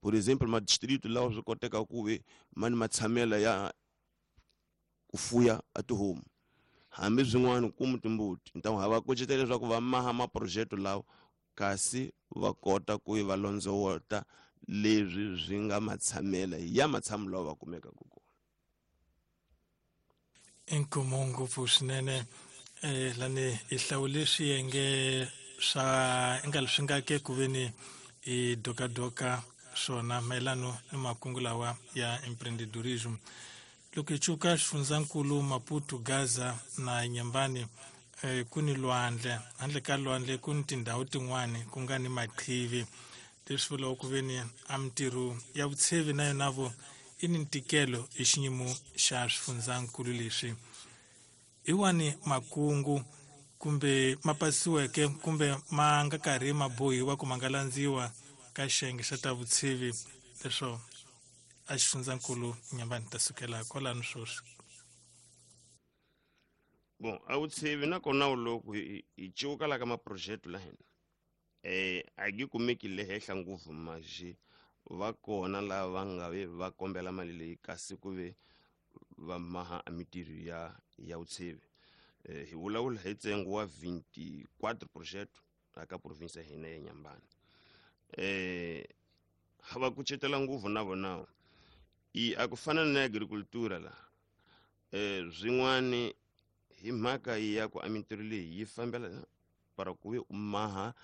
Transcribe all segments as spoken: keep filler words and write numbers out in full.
Por exemplo, madistrito lawa swi koteka ku ve ma ni matshamela ya ku fuya a tihomu hambi swin'wana ku timbuti. Então ha va kucetela leswaku va maha maprojeto lawa kasi va kota ku va londzowota leswi swi nga matshamela ya matshamo lawa va kumekaka kona. Inkomo ngopfu swinene eh lani i hlawule swiyenge swa nga leswi nga ke ku veni i dokadoka swona mayelano ni makungu lawa ya empreendedorism. Loko hi cuka xifundzankulu Maputo, Gaza na Nyambani eh, ku ni lwandle, handle ka lwandle ku ni tindhawu tin'wani ku nga ni maqhivi, leswi vulaka ku veni a mintirho ya vutshevi na yona vo i ni ntikelo hi xiyimo xa swifundzankulu leswi. Hi wani makungu kumbe ma pasiweke kumbe ma nga karhi ma bohiwa ku ma nga landziwa ka xiyenge xa ta vutshevi leswo a xifundzankulu Nyambani ta sukela kwalano sweswi? Bon, a vutshevi nakona loko hi cuka la ka maprojeto la hina eh a yi kumeki le henhla ngopfu, maji va kona lava va nga ve va kombela mali leyi kasi ku ve va maha a mintirho ya ya vutshevi. Eh, hi vulavula hi ntsengo wa vinte e quatro projeto aka province ya hina ya Nyambani. Eh ha va kucetela ngopfu na vona i a ku fana na agricultura la eh swin'wani hi mhaka ya ku a mintirho leyi yi fambela para ku ve u maha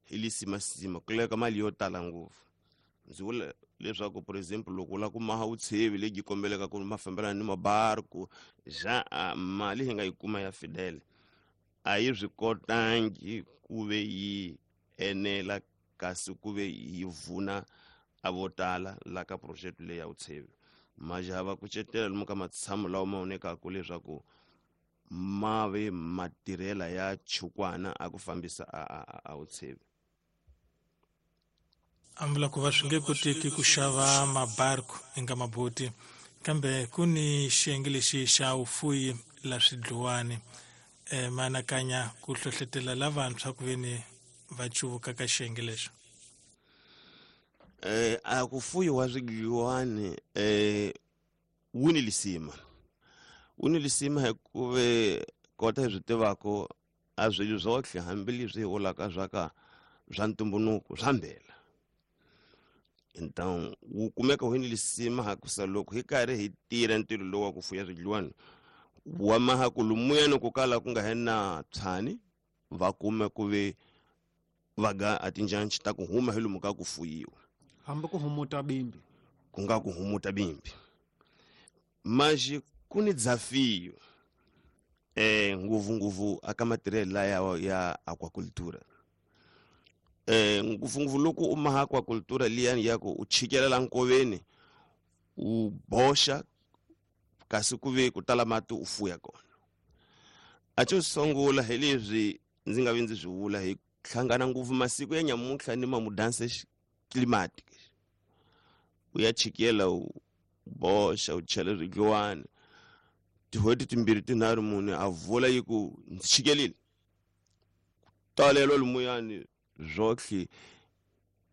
hi lisimasima ku laveka mali yo tala ngopfu. Ndzi vula leswaku, por exemple, loko u lava ku maha vutshevi lebyi kombeleka ku ma fambelana ni mabarku ja a mali hi nga yi kuma ya Fidel a yi swi kotangi ku ve yi enela kasi ku ve yi vuna a vo tala la ka project leyi ya vutshevi. Maja va kucetela lomu ka matshamo lawa ma vonekaka leswaku ma ve matirhela ya chukwana a ku fambisa a, a, a vutshevi. A vula ku va swi nge koteki ku xava mabarku eka maboti, kambe ku ni xiyenge lexi xa vufuyi la swidluwani e ma anakanya ku hlohletela lavantshwa ku veni va cuvuka ka xiyenge lexo? eh a ku fuyiwa swidliwani eh wu ni lisima, wu ni lisima hikuva kota hi swi tivaka a swilo swotlhe hambileswi hi vulaka swa ka swa ntumbuluko swa mbela. Então wu kumeka wu ni lisima hakusa loko hi karhi hi tirha ntirho lowu wa ku fuya swidliwani wa maha ku lumuyani ku kala ku nga he na tshani va kume ku ve va ga a tinjanci ta ku huma hi lomu ka ku fuyiwa. Hambi ku humuta bimbi. Ku nga ku humuta bimbi maxi ku ni desafio eh ngopfungopfu aka matirhelo laya ya aquacultura, eh ngopfungopfu loko u maha aquacultura liyani ya ku u chikelela nkoveni u boxa kasi ku ve ku tala mati u fuya kona. A xo sungula hi leswi ndzi nga vi ndzi swi vula, hi hlangana ngopfu masiku ya nyamuntlha ni mamudanse climatic. U ya chikela, u boxa, u chela swidliwani tin'hweti timbirhi tinharhu mune a vula yi ku ndzi chikelile talelo lumuyani swotlhe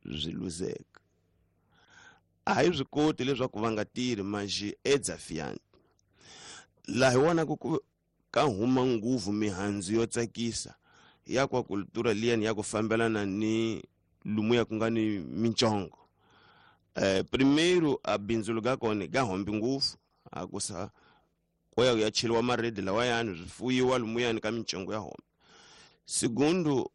swi luzeka. A hi swi koti leswaku va nga tirhi maxi edzafiyanti laha hi vonaka ku ka huma nguvu mihandzu yo tsakisa ya aquacultura liyani ya ku fambelana ni lumuya ku nga ni mincongo. eh primeiro a bindzu ga kona ga hombi ngopfu akusa ko ya ya cheliwa maredi lawayani swi fuyiwa lumuyani ka mincongo ya hombi. Segundo,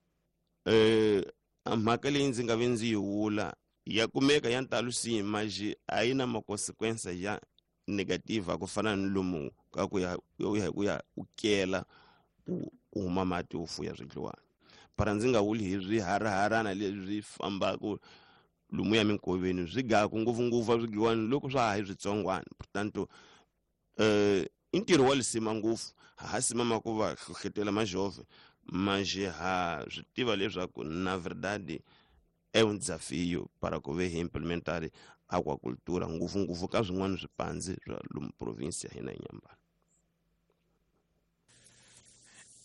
eh a mhaka leyi ndzi nga ve ndzi yi vula ya kumeka ya ntalo si maxi a yi na makonsequensa ya negative ku fana ni lomu ka ku ya ku ya ku ya u kela ku ku huma mati u fuya swidliwani para ndzi nga vuli hi swiharaharana leswi fambaka lomuya minkoveni swi gaku ngopfungopfu a swidliwani loko swa ha hi switsongwana. Portanto eh i ntirho wa lisima ngopfu ha ha simama ku va hlohletela majove manjhe ha swi tiva leswaku na verdade é um desafio para ku ve hi implementar aquacultura ngopfungopfu ka swin'wana swipandzi swa lomu province ya hina ya Nyambani.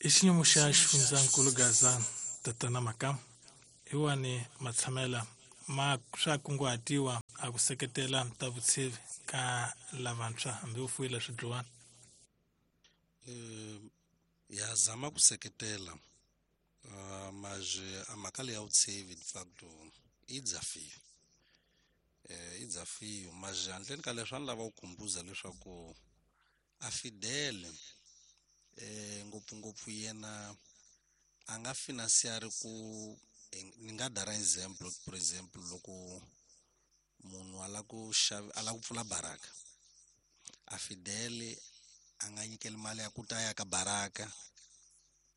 I xiyimo xa xifundzankulu Gaza, tatana Makamu, hi wani matshamela ma swa kunguhatiwa a ku seketela ta vutshivi ka lavantshwa hambi u fuyile swidluwana? Eh, ya zama ku seketela uh, mas a mhaka leyi ya vutshivi de facto i desafio, eh, i desafio, mas handleni ka leswi a ni lava ku khumbuza leswaku a Fidel eh, ngopfungopfu yena a nga financiari ku ni nga dara example, por example loko munhu a lava ku xava a lava ku pfula baraka, a Fidel a nga nyikeli mali ya ku ta ya ka baraka,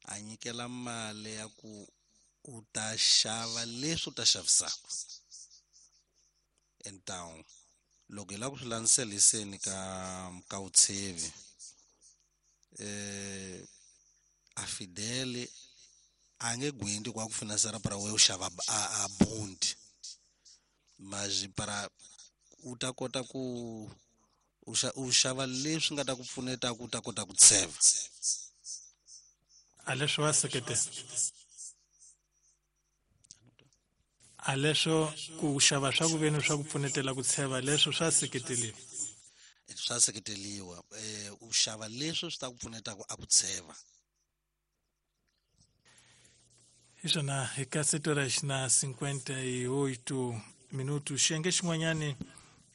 a nyikela mali ya ku u ta xava leswi u ta xavisaka. Então loko hi lava ku swi landzeliseni ka ka vutshivi, eh a Fidel a nge gwindi kwa ku finansera para we u xava a, a bond, mas para u ta kota ku u xa u xava leswi nga ta ku pfuneta ku ta kota ku tsheva. A leswo wa seketela, a leswo ku xava swa ku veni swa ku pfunetela ku tsheva leswo swa seketeliwa, swa seketeliwa. Eh u xava leswi swi ta ku pfuneta ku a ku tsheva. Hi swona hi ka sete horas na cinquenta e oito minutos. Xiyenge xin'wanyani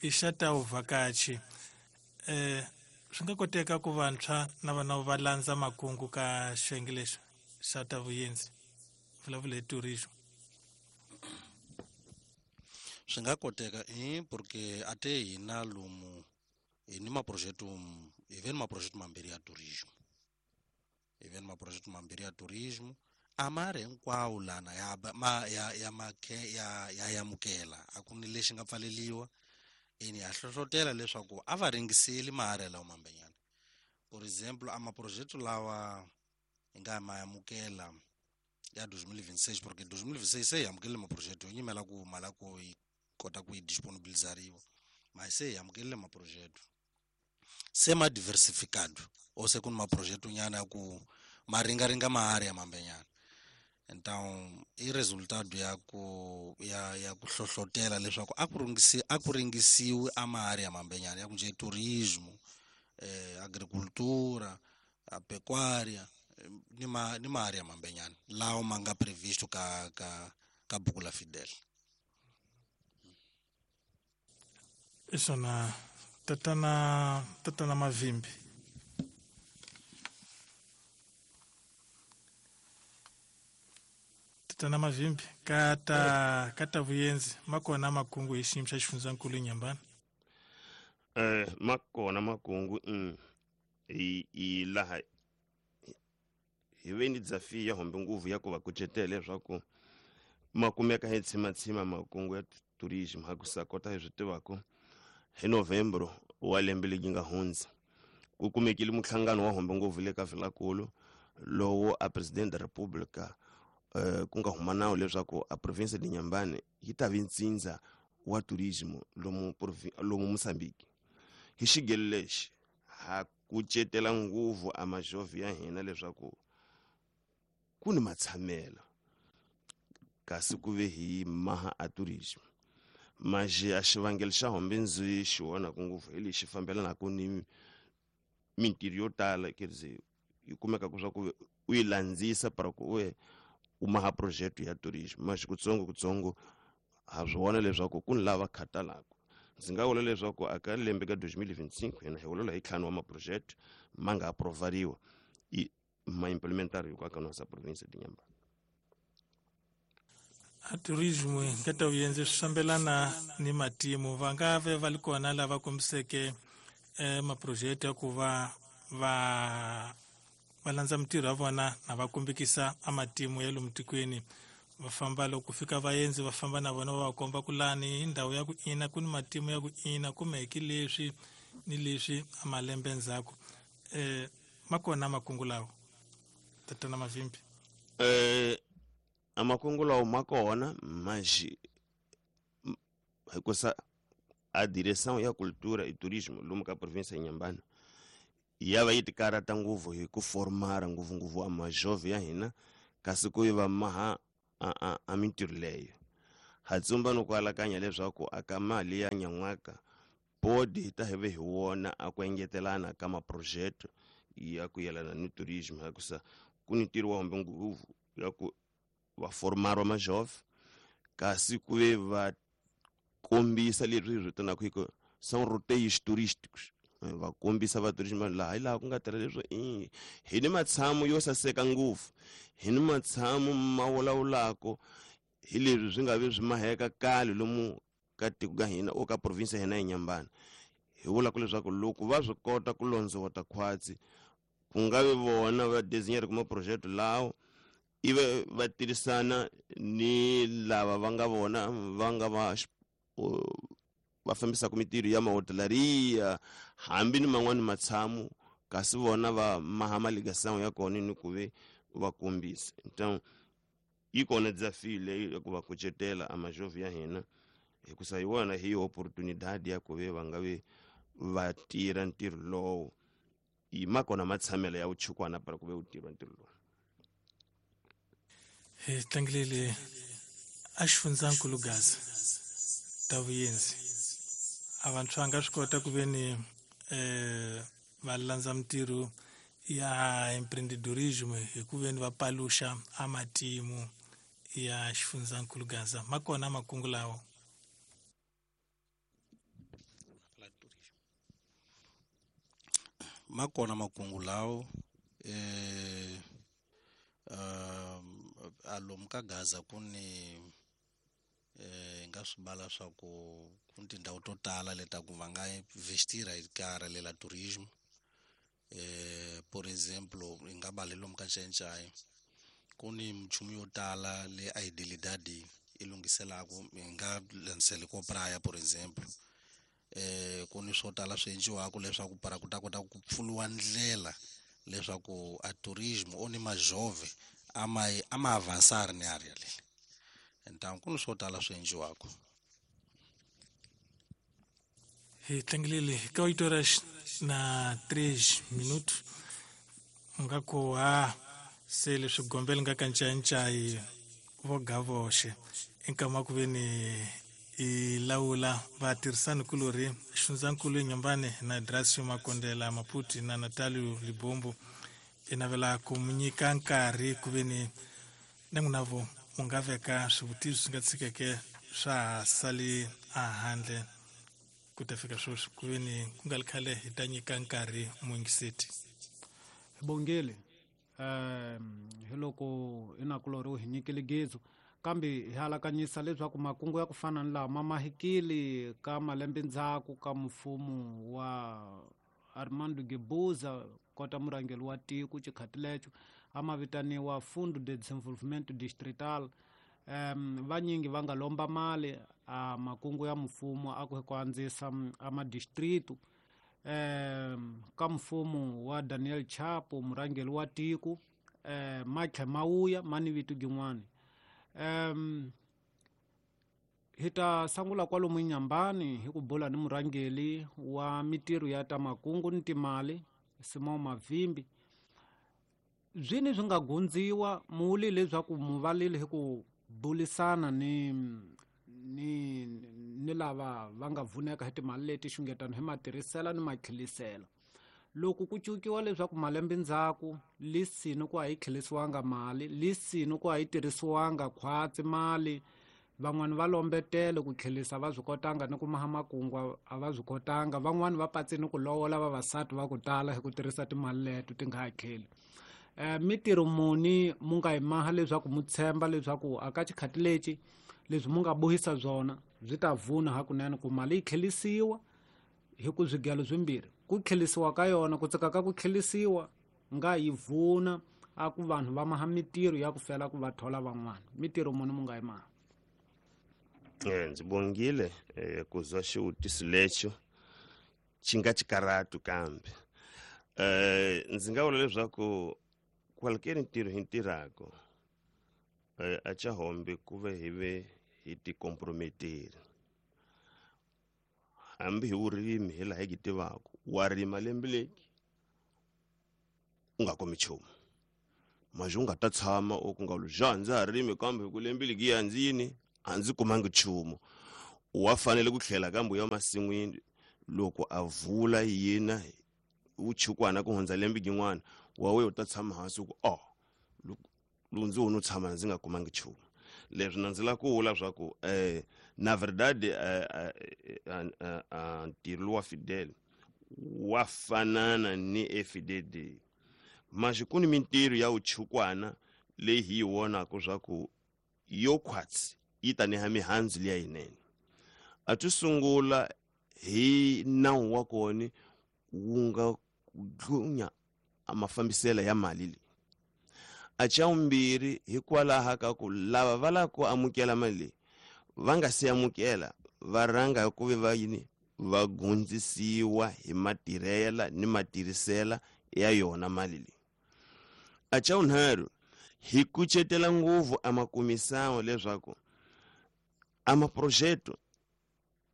i xa ta vuvhakachi. Eh swi nga koteka ku vantshwa na vana va landza makungu ka xiyenge lexi xa ta vuyendzi, vulavula hi tourism? Swi nga koteka eh porque a te hina lomu hi ni maprojeto, hi ve ni maprojeto mambirhi ya tourism, hi ve ni maprojeto mambirhi ya tourism a ma ri hinkwawo lana ya ma ya ya makhe ya ya amukela, a ku ni lexi nga pfaleliwa. Ene ya hlohlotela leswaku a va ringiseli maharhi lawa mambenyana. Por exemplo a maprojeto lawa hi nga ma amukela ya dois mil e vinte e seis, porque dois mil e vinte e seis se hi amukerile maprojeto yo nyimela ku mali ya ku yi kota ku yi disponibilizariwa, mas se hi amukerile maprojeto se ma diversificado, ou se ku ni maprojeto nyana ya ku ma ringaringa maharhi ya mambenyana. Então i resultado ya ku ya ya ku hlohlotela leswaku a ku ringisi a ku ringisiwi a maharhi ya mambenyana ya ku nje turismo, eh agricultura, a pecuária ni ma ni maharhi ya mambenyana lawa ma nga previsto ka ka ka buku la Fidel. Isona tatana tatana Mavimbi. Tatana Mavimbi kata kata vuyenzi makona makungu hi xiyimo xa xifundzankulu Inhambane. Eh makona makungu mm i i laha hi ve ni desafio ya hombe nguvu ya ku va kucetela leswaku ma kumeka hi tshimatsima makungu ya tourism ha ku sa kota hi swi tivaka hi Novembro wa lembe leri nga hundza ku kumekile muhlangano wa hombe nguvu le ka Vilakulu lowu a president da República eh ku nga huma nawu leswaku a province de Inhambane yi ta vi ntsindza wa tourism lomu lomu Mozambique. Hi xigelo lexi ha kucetela nguvu a majovhi ya hina leswaku ku ni matshamelo kasi ku ve hi maha a tourism. Mas a xivangelo xa hombe ndzi xi vonaka ngopfu hi lexi fambelanaka ni mintirho yo tala, quer dizer, yi kumeka ku swa ku u yi landzisa para ku we u maha projeto ya tourism. Mas kutsongo kutsongo ha swi vona leswaku ku ni lava khatalaka. Ndzi nga vula leswaku a ka lembe ka dois mil e vinte e cinco hina hi vulavula hi ntlhanu wa maproject ma nga aprovariwa i ma implementariwa ka ka nossa província de Inhambane. A tourism ka ta vuyenzi swi fambelana ni matimu, va nga ve va li kona lava kombiseke eh maproject ya ku va va va landza mintirho ya vona na va kombekisa a matimu ya lomu tikweni, va famba loko fika vaendzi va famba na vona va va komba ku lani hi ndhawu ya ku ina ku ni matimu ya ku ina kumeke leswi ni leswi a malembe ndzhaku. Eh ma kona makungu lawa tatana Mavimbi? Eh a makungu lawa ma kona, mas hikusa a direção ya cultura e turismo lomu ka província ya Inhambane ya va yi tikarhata ngopfu hi ku formara ngopfungopfu a majovhi ya hina kasi ku yi va maha a a a mintirho leyo. Ha tsumba no ku alakanya leswaku aka mali ya nyan'waka bodi hi ta hi ve hi wona a ku engetelana ka maprojeto ya ku yelana ni tourism hikusa ku ni ntirho wa hombe ngopfu ya ku va formar majove kasi ku ve va kombisa leswi hi vitanaka hi ku são roteiros turísticos va kombisa va tourism laha hi laha ku nga tala leswi i hi ni matshamo yo saseka ngopfu hi ni matshamo ma vulavulako hi leswi swi nga vi swi maheka kale lomu ka tiko ka hina o ka province ya hina ya Inhambane hi vula ku leswaku loko va swi kota ku londzovota khwatsi ku nga vi vona va designer kuma project lawo ive va tirhisana ni lava va nga vona va nga va va fambisaka mitirho ya mahotelaria hambi ni man'wani matshamo kasi vona va maha maligasango ya kona ni ku ve va kombisa. Então yi kona desafio leyi ya ku va kucetela a majove ya hina hikusa hi wona hi oportunidade ya ku ve va nga ve va tirha ntirho lowo i ma kona matshamelo ya vuchukwana para ku ve u tirha ntirho lowu. Hi tlangilele a xifundzankulu Gaza ta vuyenzi a vantshwa nga swi kota ku ve ni eh va landza mitirho ya empreendedorismo hi ku ve ni va paluxa a matimu ya xifundzankulu Gaza ma kona makungu lawo. Ma kona makungu lawo eh uh, alomu ka Gaza ku ni eh nga swi bala swa ku ku ni tindhawu to tala leta ku va nga investira hi ka lela tourism eh por exemplo hi nga bala lomu ka Nchenchai ku ni minchumu yo tala le a Idilidadi i lunghiselaku hi nga landziseli ko Praia por exemplo eh ku ni swo tala swi endliwaka leswaku para ku ta kota ku pfuriwa ndlela leswaku a tourism o ni majove a ma a ma avançar ni area leyi. Então ku ni swo tala swi endliwaka. Hi tlangilele ka oito horas na três minutos nga ku ha se leswi gombele nga ka Ncayincai vo gavoxe enkama ku ve ni i lawula vatirhisani kulorhi xifundzankulu Inhambane na Dracio Makondela Maputi na Natalio Libombo i navela ku mu nyika nkarhi ku ve ni na n'wina vo mu nga veka swivutiso swi nga tshikeke swa ha sali a handle ku ta fika sweswi ku ve ni ku nga ri khale hi ta nyika nkarhi muyingiseti. Hi bongile um hi loko inakulorhi hi nyikile gezu kambe hi alakanyisa leswaku makungu ya ku fana ni lama ma mahikile ka malembe ndzhaku ka mfumo wa Armando Guebuza kota murhangeri wa tiko xikhati lexo a ma vitaniwa Fundo de Desenvolvimento Distrital. Um vanyingi va nga lomba mali a makungu ya mfumo a ku ku andzisa a madistritu um ka mfumo wa Daniel Chapo murhangeri wa tiko um ma tlhe ma wuya ma ni vito gin'wani. Um hi ta sungula kwalomu Inhambane hi ku bula ni murhangeri wa mitirho ya ta makungu ni timali Simão Mavimbi. Byini swi nga gundziwa muli leswaku muvalile hi ku bulisana ni ni ni lava va nga vuneka hi timali leti xungetano hi matirhisela ni matlhelisela. Loko ku cukiwa leswaku malembe ndzhaku lisini ku a yi tlhelisiwanga mali lisini ku a yi tirhisiwanga khwatsi mali van'wani va lombetele ku tlhelisa va swi kotanga ni ku maha makungu a va swi kotanga van'wani va patsini ku lovola vavasati va ku tala hi ku tirhisa timali leto ti nga ha tlheli. Eh mitirho muni mu nga yi maha leswaku mu tshemba leswaku a ka xikhati lexi leswi mu nga bohisa byona byi ta vuna hakunene ku mali yi tlhelisiwa hi ku swigelo swimbirhi ku tlhelisiwa ka yona ku tsaka ka ku tlhelisiwa nga yi vuna a ku vanhu va maha mitirho ya ku fela ku va thola van'wana mitirho muni mu nga yi maha. Eh ndzi bongile eh ku zwa xivutiso lexo xi nga xikaratu kambe eh ndzi nga vula leswaku qualquer ntirho hi ntirhako eh a cha hombe ku ve hi ve hi ti comprometeri hambi hi vurimi hi laha hi tivaka wa rima lembe leki u nga kumi nchumu maji u nga ta tshama u ku nga lu ja ndza ha rimi kambe hi ku lembe leki ya ndzi yini a ndzi kumangi nchumu wa fanele ku tlhela kambe ya masin'wini loko a vula yina wu chukwana ku hundza lembe rin'wana wa we u ta tshama hansi ku oh loko ndzi wo no tshama ndzi nga kumangi nchumu. Leswi na ndzi lava ku vula swa ku eh na verdade ntirho lowa Fidel wa fanana ni F D D mas ku ni mintirho ya vuchukwana leyi hi yi vonaka swa ku yo khwatsi yi ta neha mihandzu liya yinene. A ti sungula hi nawu wa kona wu nga dlunya a mafambiselo ya mali leyi. A xa vumbirhi hikwalaho ka ku lava va lava ku amukela mali leyi va nga se amukela va rhanga hi ku ve va yini va gundzisiwa hi matirhela ni matirhisela ya yona mali leyi. A xa vunharhu hi kucetela ngopfu a makumisawo leswaku a maprojeto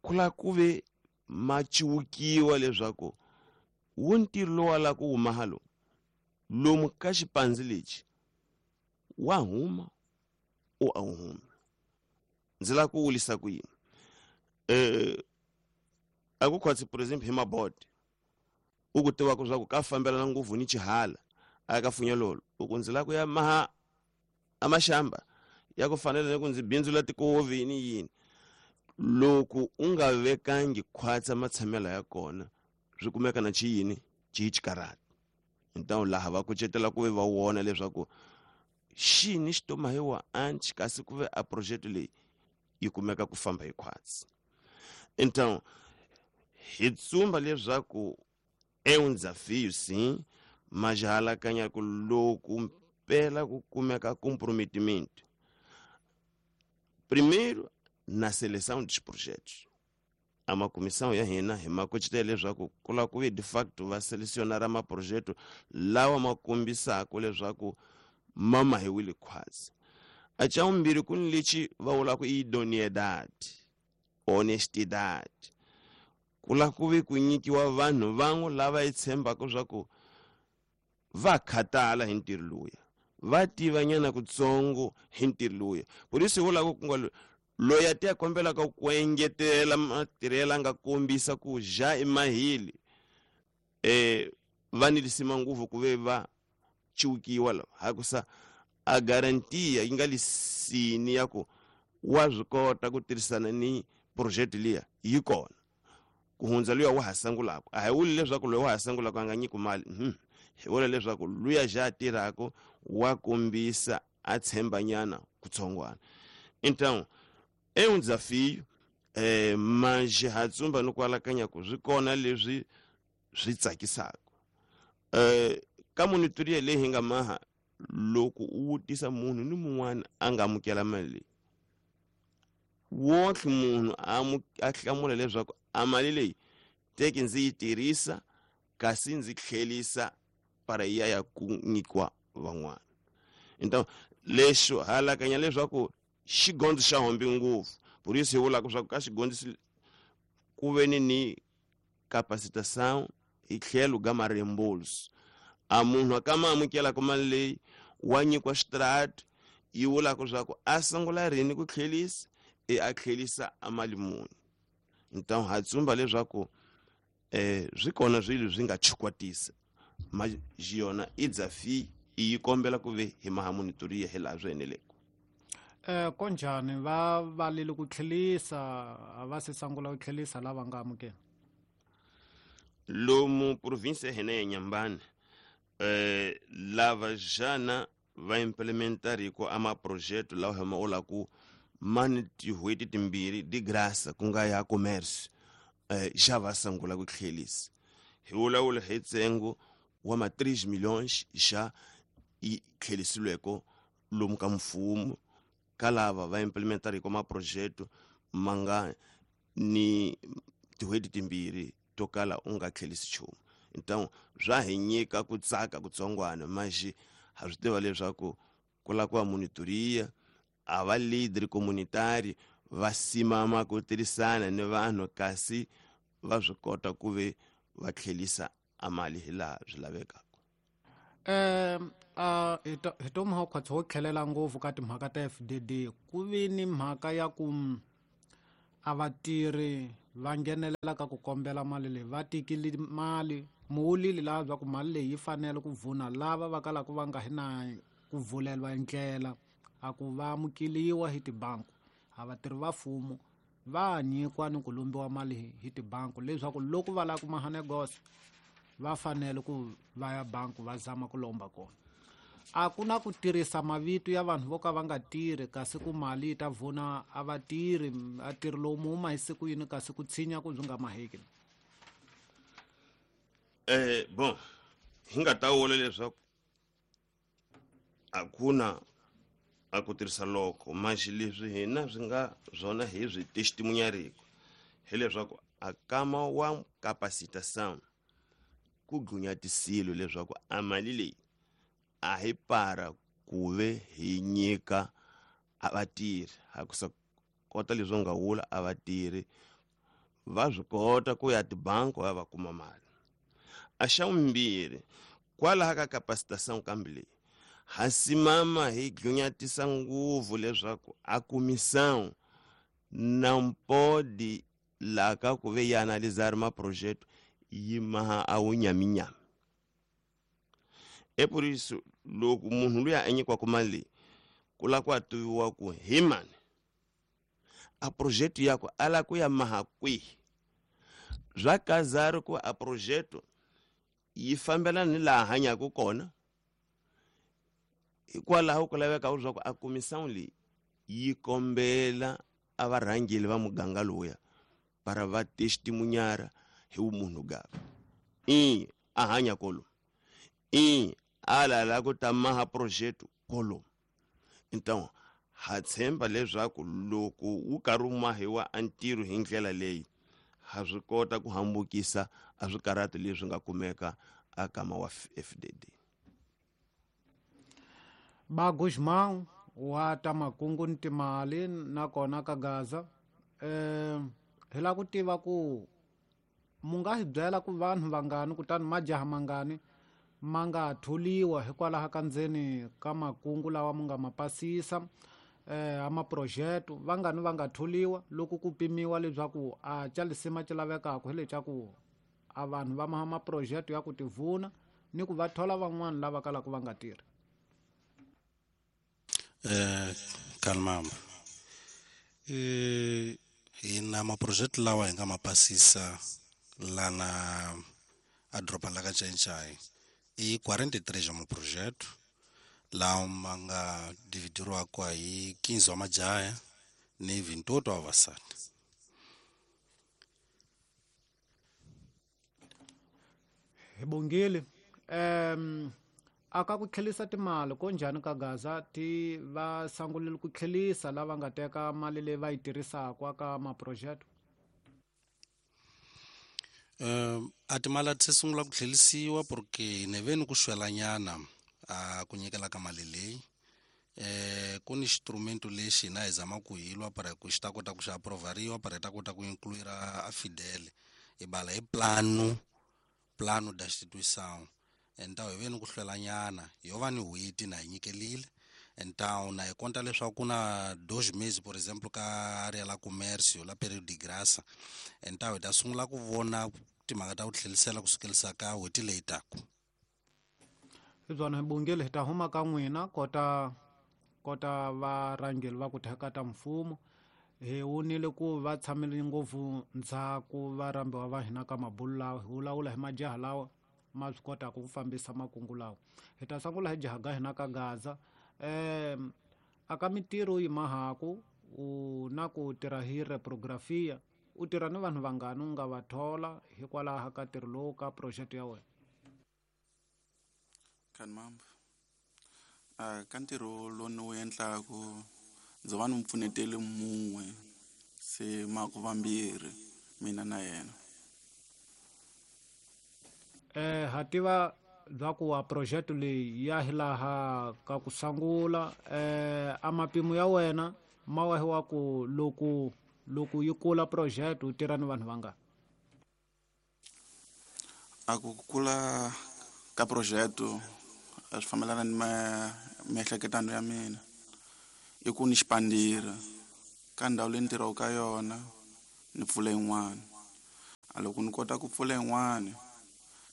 ku lava ku ve ma ciwukiwa leswaku wu ntirho lowu wa lava ku huma halo lomu ka xipandzi lexi wa huma u a wu humi. Ndzi lava ku wulisa ku yini eh a ku khwatsi por exemple hi mabodi u ku tivaka swa ku ka fambelana ngopfu ni xihala a ka funyelolo u ku ndzi lava ku ya maha a maxamba ya ku fanele ni ku ndzi bindzula tikovi ni yini. Loko u nga vekangi khwatsa matshamelo ya kona swi kumeka na xiyini xi xikarhati. Então laha va kucetela ku ve va vona leswaku xini xi tomahiwa anchi kasi ku ve a project leyi yi kumeka ku famba hi khwatsi. Então hi tsumba leswaku é um desafio sim, mas halakanya ku loko mpela ku kumeka comprometimento primeiro na seleção dos projetos. A uma comissão ya hina hi makucetela leswaku ku lava ku ve de facto va selecionar maprojeto lawa ma kombisaka leswaku ma mahiwile khwatsi. A xa vumbirhi ku ni lexi va vulaka idoneidade, honestidade. Ku lava ku ve ku nyikiwa vanhu van'we lava hi tshembaka swa ku va khatala hi ntirho luya, va tiva nyana kutsongo hi ntirho luya. Por isso hi vulaka ku nga loyi a ti ya kombelaka ku engetela matirhelo a nga kombisa ku ja emahili eh va ni lisima ngopfu ku ve va ciwukiwa lava hakusa a garantia yi nga lisini ya ku wa swi kota ku tirhisana ni project liya yi kona ku hundza luya wa ha sungulaka. A hi vuli leswaku loyi wa ha sungulaka a nga nyiki mali, hi vula leswaku luya ja tirhaka wa kombisa a tshembanyana kutsongwana. Então é um desafio, eh, mas ha tsumba ni ku alakanya ku swi kona leswi swi tsakisaka. Eh, ka monitoria leyi hi nga maha loko u vutisa munhu ni mun'wana a nga amukela mali leyi wonke munhu a hlamula leswaku a mali leyi teki ndzi yi tirhisa kasi ndzi tlhelisa para ya ya ku nyikiwa van'wana. Então lexo halakanya leswaku xigondzo xa hombi ngopfu, por isso hi vulaka swa ku ka xigondzo ku ve ni ni capacitação hi tlhelo ka mareembolso. A munhu a ka ma amukelaka mali leyi wa nyikiwa xitrati yi vulaka swa ku a sungula rini ku tlhelisa e a tlhelisa a mali muni. Então ha tsumba leswaku eh swi kona swilo swi nga chukwatisa mas yona i desafio yi kombela ku ve hi maha monitoria hi laha swi eneleke. Eh konjhani va valile ku tlhelisa a va se sungula ku tlhelisa lava nga amukela lomu província hina ya Inhambane eh lava jana va implementar ko ama projeto lawa ma ola ku mani tin'hweti timbirhi de graça ku nga ya commerce eh já va sungula ku tlhelisa. Hi vulavula hi ntsengo wa ma três milhões já yi tlhelisiweke lomu ka mfumo ka lava va implementar ko ma projeto ma nga ni tin'hweti timbirhi to kala u nga tlhelisi nchumu. Então swa hi nyika ku tsaka kutsongwana mas ha swi tiva leswaku ku lava ku va monitoria a va leader communitary va simama ku tirhisana ni vanhu kasi va swi kota ku ve va tlhelisa a mali hi laha swi lavekaka. Eh a hi to mhaka ho tlhelela ngopfu ka timhaka ta F D D ku vi ni mhaka ya ku a vatirhi va nghenelela ka ku kombela mali leyi va tekile mali muwulile laha bya ku mali leyi yi fanele ku vuna lava va kalaka va nga hi na ku vulelwa ndlela a ku va amukeliwa hi tibanku a vatirhi va mfumo va nyikiwa ni ku lombiwa mali hi tibanku leswaku loko va lava ku maha negosi va fanele ku va ya banku va zama ku lomba kona. A ku na ku tirhisa mavito ya vanhu vo ka va nga tirhi kasi ku mali yi ta vuna a va tirhi a tirhi lowu mu huma hi siku yini kasi ku tshinya ku byi nga maheki. Eh bon hi nga ta vula leswaku a ku na a ku tirhisa loko maxi leswi hina swi nga swona hi swi testimunyariko hileswaku a kama wa capacitação ku gunyatisile leswaku a mali leyi a hi para ku ve hi nyika a vatirhi ha ku sa kota leswi nga vula a vatirhi va swi kota ku ya tibanku va va kuma mali. A xa vumbirhi kwalaha ka capacitação kambe leyi ha simama hi gunyatisa ngopfu leswaku a comissão não pode la ka ku ve ya analisar ma projeto yi maha a wu nyaminyami. É por isso loko munhu luya a nyikiwaka mali leyi ku lava ku a tiviwa ku hi mani a projeto yakwe a lava ku ya maha kwihi. Swa kazari ku a projeto yi fambelana ni laha hanyaka kona hikwalaho ku laveka leswaku a comissão leyi yi kombela a varhangeli va muganga lowuya para va testimunyara hi vumunhu gava i a hanya kolo i a lava ku ta maha projeto kolo. Então ha tshemba leswaku loko wu karhi wu mahiwa a ntirho hi ndlela leyi ha swi kota ku hambukisa a swikarhato leswi nga kumeka a kama wa F D D. Ba Guzmão wa ta makungu ni timali nakona ka Gaza eh hi lava ku tiva ku mu nga hi byela ku vanhu vangani kutani majaha mangani ma nga tholiwa hikwalaho ka ndzeni ka makungu lawa mu nga ma pasisa eh a maprojeto vangani va nga tholiwa loko ku pimiwa leswaku a xa lisima xi lavekaka hi leswaku a vanhu va maha maprojeto ya ku tivuna ni ku va thola van'wana lava kalaka va nga tirhi. Eh kalmamba eh hi na maprojeto lawa hi nga ma pasisa lana a doroba la ka Xai-Xai i quarenta e três ya maprojeto lawa ma nga dividiriwaka hi quinze wa majaha ni vinte e oito wa vavasati. Hi bongile um aka ku tlhelisa timali ko njhani ka Gaza ti va sangulile ku tlhelisa lava nga teka mali leyi va yi tirhisaka ka maprojeto? Um a timali a ti se sungula ku tlhelisiwa porque ni ve ni ku xwelanyana a ku nyikela ka mali leyi eh ku ni instrumento lexi hina hi zama ku hi lwa para ku xi ta kota ku xi aprovariwa para hi ta kota ku incluir a Fidel hi bala hi plano plano da instituição. Então hi ve ni ku hlwelanyana yo va ni n'hweti na hi nyikelile. Então na hi konta leswaku ku na dois meses por exemplo ka area la comércio la período de graça. Então hi ta sungula ku vona timhaka ta ku tlhelisela ku sukelisa ka n'hweti leyi taka. Hi byona hi bongile hi ta huma ka n'wina kota kota varhangeli va ku theka ta mfumo hi wonile ku va tshamile ngopfu ndzhaku va rhambiwa va hina ka mabulu lawa hi vulavula hi majaha lawa ma swi kotaka ku fambisa makungu lawa. Hi ta sungula hi jaha ga hina ka Gaza um aka mitirho yi mahaku u na ku tirha hi reprografia u tirha ni vanhu vangani u nga va thola hikwalaho ka ntirho lowu ka project ya wena? Kanmamba a ka ntirho lowu ni wu endlaku ndzi va ni mpfuneteli mun'we se maku vambirhi mina na yena. Eh ha tiva bya ku wa project leyi ya hilaha ka ku sungula eh a mapimo ya wena ma wa hi wa ku loko loko yi kula project u tirha ni vanhu vangani? A ku kula ka projeto a swi fambelana ni miehleketano ya mina i ku ni xipandira ka ndhawu leyi ni tirhaka ka yona ni pfula yin'wana. A loko ni kota ku pfula yin'wana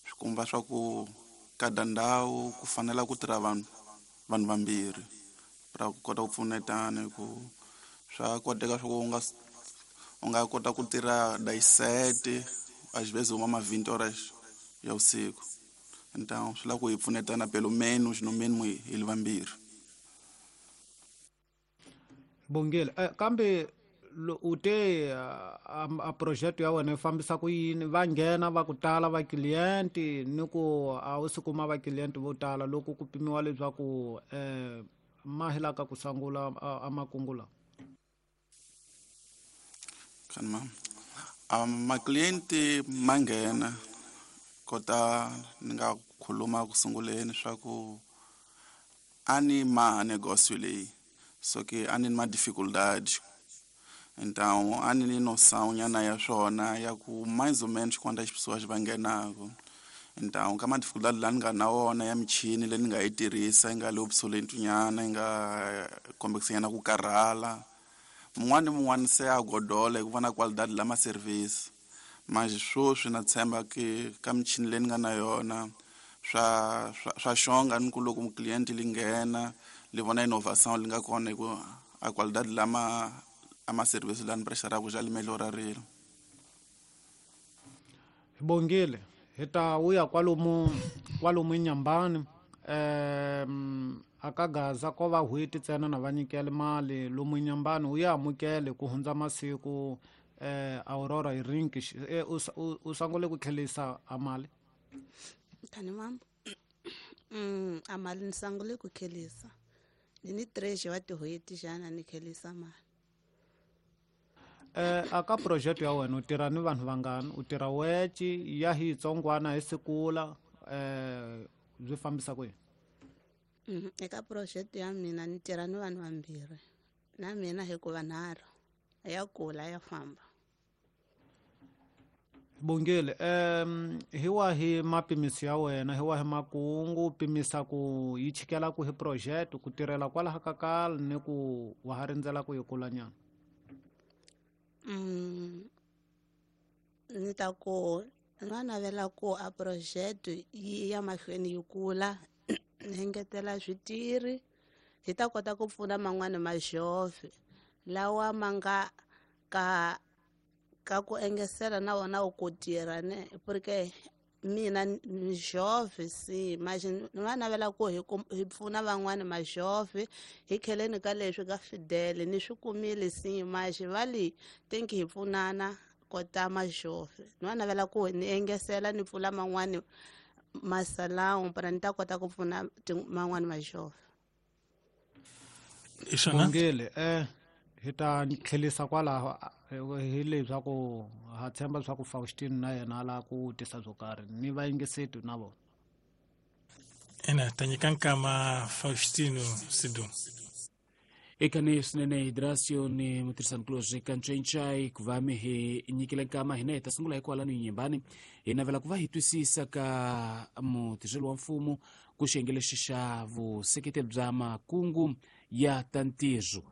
swi komba swa ku kada ndhawu ku fanela ku tirha vanhu vanhu vambirhi ra ku kota ku pfunetana hi ku swa koteka swa ku u nga u nga kota ku tirha dix-sept às vezes uma ma vinte horas ya usiku. Então swi lava ku hi pfunetana pelo menos no mínimo hi li vambirhi. Bongile, eh, kambe u te a, a projeto ya wena yi fambisa ku yini? Va nghena va ku tala va client ni ku a wu si kuma va client vo tala loko ku pimiwa leswaku eh ma helaka ku sungula a makungu lawa? Kanma um ma client ma nghena kota ni nga khuluma ku sunguleni swa ku a ni ma negócio leyi so ke a ni ma dificuldade. Então a ni noção nyana ya swona ya ku mais ou menos quantas pessoas va nghenaka. Então ka ma dificuldade la ni nga na wona ya michini leyi ni nga yi tirhisa yi nga le obsolete nyana yi nga kombekisa nyana ku karhala. Mun'wana ni mun'wana se a godola hi ku vona qualidade la ma service. Mas sweswi na tshemba ke ka michini leyi ni nga na yona swa swa swa xonga ni ku loko client li nghena li vona innovation li nga kona hi ku a qualidade la ma a ma service la ni pressure ku ja li melhorarile. Bongile, hi ta vuya kwalomu kwalomu Nyambani um aka Gaza ko va hweti ntsena na va nyikele mali lomu Nyambani u ya amukele ku hundza masiku eh Aurora hi rinki u sungule ku tlhelisa a mali. Tani mama mm a mali ni sungule ku tlhelisa ni ni três wa tihweti xana ni tlhelisa mali. Eh aka project ya wena u tirha ni vanhu vangani? U tirha weci ya hi tsongwana hi sikula eh byi fambisa ku yini? Mm eka project ya mina ni tirha ni vanhu vambirhi na mina hikuva nharhu ya kula ya famba. Bongile, um hi wahi mapimiso ya wena, hi wahi makungu pimisa ku yi chikela ku hi project ku tirhela kwalaha ka kala ni ku wa ha rindzela ku yi kula nyana? Mm ni ta ku na navela ku a project yi ya mahlweni yi kula ni engetela switirhi hi ta kota ku pfuna man'wana majove lawa ma nga ka ka ku engesela na wona u ku tirha ne porque mina ni jove si mas ni va navela ku hi hi pfuna van'wana majove hi kheleni ka leswi ka Fidel ni swi kumile si mas va li think hi pfunana kota majove ni va navela ku ni engesela ni pfula man'wana masalão para ni ta kota ku pfuna man'wana majove. Bongile, eh hi ta tlhelisa kwalaho hi leswaku ha tshemba leswaku Faustino na yena a lava ku tisa byo karhi ni vayingiseti na vona. Ina ta nyika nkama Faustino Sidu. Eka ni swinene Hidrasio ni mutirhisanikulorhi ka Ncencai ku va mi hi nyikile nkama hina hi ta sungula hi kwalano Nyembani hi navela ku va hi twisisa ka mutirheli wa mfumo ku xiyenge lexi xa vuseketeri bya makungu ya ta ntirho.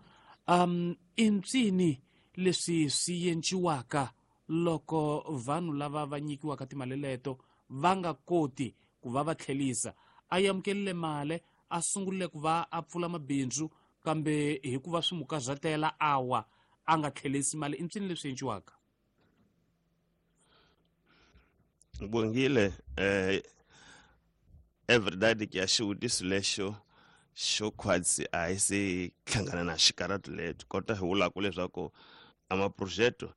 Um i mpsini leswi swi endliwaka loko vanhu lava va nyikiwaka timali leto va nga koti ku va va tlhelisa? A amukelile mali a sungurile ku va a pfula mabindzu kambe hikuva swi mukazatela awa a nga tlhelisi mali. I mpsini leswi endliwaka? Bongile, eh everyday ke ya xivutiso lexo xo khwatsi a hi se hlangana na xikaratu leto kota hi vulaka leswaku a maprojeto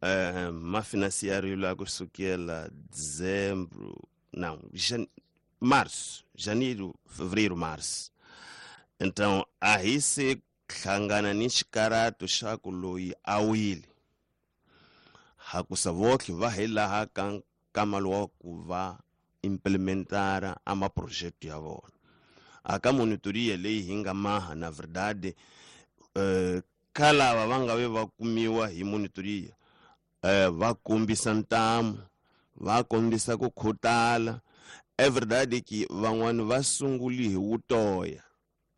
eh ma financiário la kusukela dezembro não jan, março janeiro fevereiro março. Então a hi se hlangana ni xikaratu xa ku loyi a wile hakusa votlhe va hi laha ka nkama lowa ku va implementara a maprojeto ya vona. Aka monitoria leyi hi nga maha na verdade eh ka lava va nga ve va kumiwa hi monitoria eh va kombisa ntamu va kombisa ku khutala É verdade que van'wani va sunguli hi wutoya.